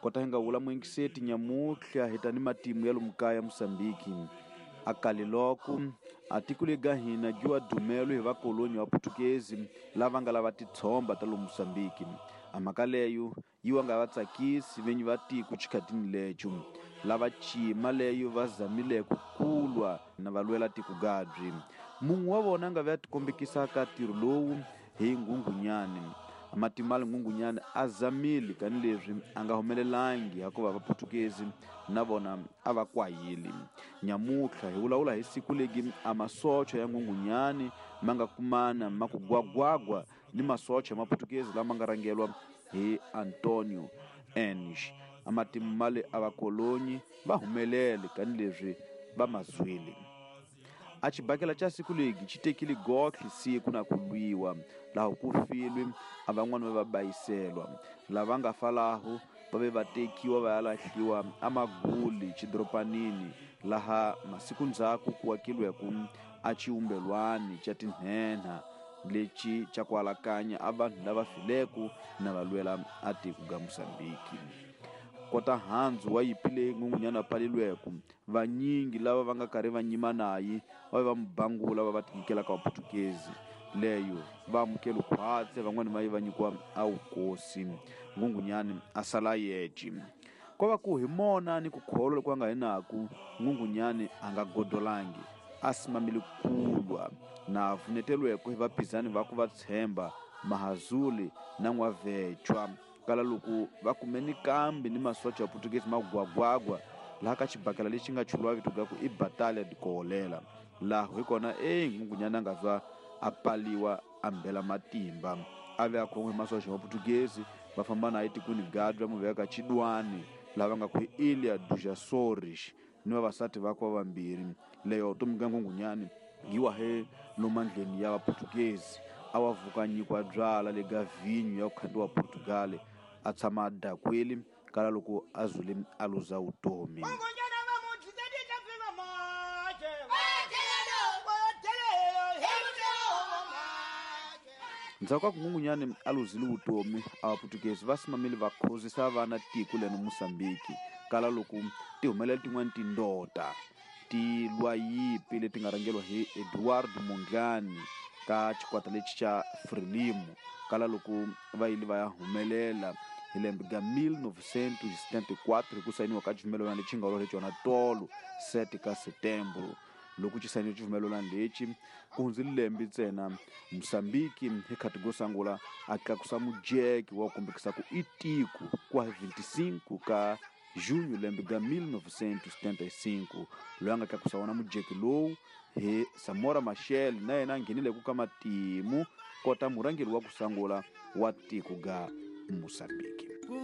Kota hi nga vula muingiseti nyamutlha hi ta ni matimu ya lomu kaya Musambiki. A kale loko a tiko lega hina dyiwa dumelo hi vakoloni va Putukezi lava nga lava titshomba ta lomu Musambiki. A mhaka leyo yi wa nga va tsakisi venyi va tiko chikhatini lecho. Lava cima leyo va zamile ku kulwa na va lwela tiko gabyi. Mun'we wa vona a nga ve a tikombekisa ka ntirho lowu hi Nghunghunyani. Matimali Nghunghunyani a zamile kanileswi a nga humelelangi hikuva Vaputukezi na vona a va kwahile. Nyamutlha hi vulavula hi siku legi a masocha ya Nghunghunyani ma nga kumana ma ku gwagwagwa ni masocha ya Maputukezi lama nga rhangelwa hi Antonio Enish. A matimu male a vakolonyi va humelele kanileswi va mazwile. A xibakela xa siku legi xi tekile gotlhe siku na ku lwiwa, laho ku filwe a van'wana va va bayiselwa. Lava nga fa laho va ve va tekiwa va ya lahliwa amaguli xidoropanini, laha masiku ndzhaku ku akilweke a xiumbelwani xa tinhenha lexi xa ku alakanya a vanhu lava fileke na va lwela a tiko ga Musambiki. Kota handzu wa yipi leyi Nghunghunyana a palilweke, vanyingi lava va nga karhi va nyima naye va ve va mu bangula va va tinyikela ka Vaputukezi. Leyo va amukele khwatse, van'wana va ye va nyikiwa a vukosi. Nghunghunyani a sala yece. Ko va ku hi mona ni ku kholwa loku a nga hi naku, Nghunghunyani a nga godolangi, a simamile kulwa na vunetelweke hi vaphizani va ku va tshemba Mahazuli na N'wavhechwa. Kala loko va kume ni kambi ni masocha ya Putukezi ma gwagwagwa laha ka xibakela lexi nga chuluwa vito ga ku i Batalha de Koholela. Laho hi kona e Nghunghunyani a nga zwa a paliwa a mbela matimba. A ve a khon'we hi masocha ya Putukezi va famba naye tikweni gadwa mu veka Chidwani laha va nga ku i Ilha dos Açores ni vavasati vakwe va vambirhi. Leyo vutomi bya Nghunghunyani yi wa he lomandleni ya Vaputukezi. A wa vuka nyikwa byala le ga vhinyo ya ku khandziwa Portugal, a tshama a dakwile kala loko a zule a luza vutomi. Ndzhaku ka ku Nghunghunyani a luzile vutomi, a Vaputukezi va simamile va khozisa vana tiko leno Musambiki, kala loko ti humelela tin'wana tindota ti lwa yipi leti nga rhangeriwa hi Eduardo Mondlane ka xikwata lexi xa Frelimo, kala loko va yile va ya humelela hi lembe ga 1974 hi ku sayiniwa ka xivumelwano lexi nga lwa cona tolo 7 ka Setembro. Loko xi sayiniwe xivumelwano lexi ku hundzile lembe ntsena, Musambiki hi khati go sangula a tlakusa mujeke wa ku kombekisa ku i tiko kwa hi 25 ka Junho lembe ga 1975. Loyi a nga tlakusa wona mujeke lowu hi Samora Machel, na yena a nghenile ku ka matimu kota murhangeri wa ku sangula wa tiko ga Musambiki.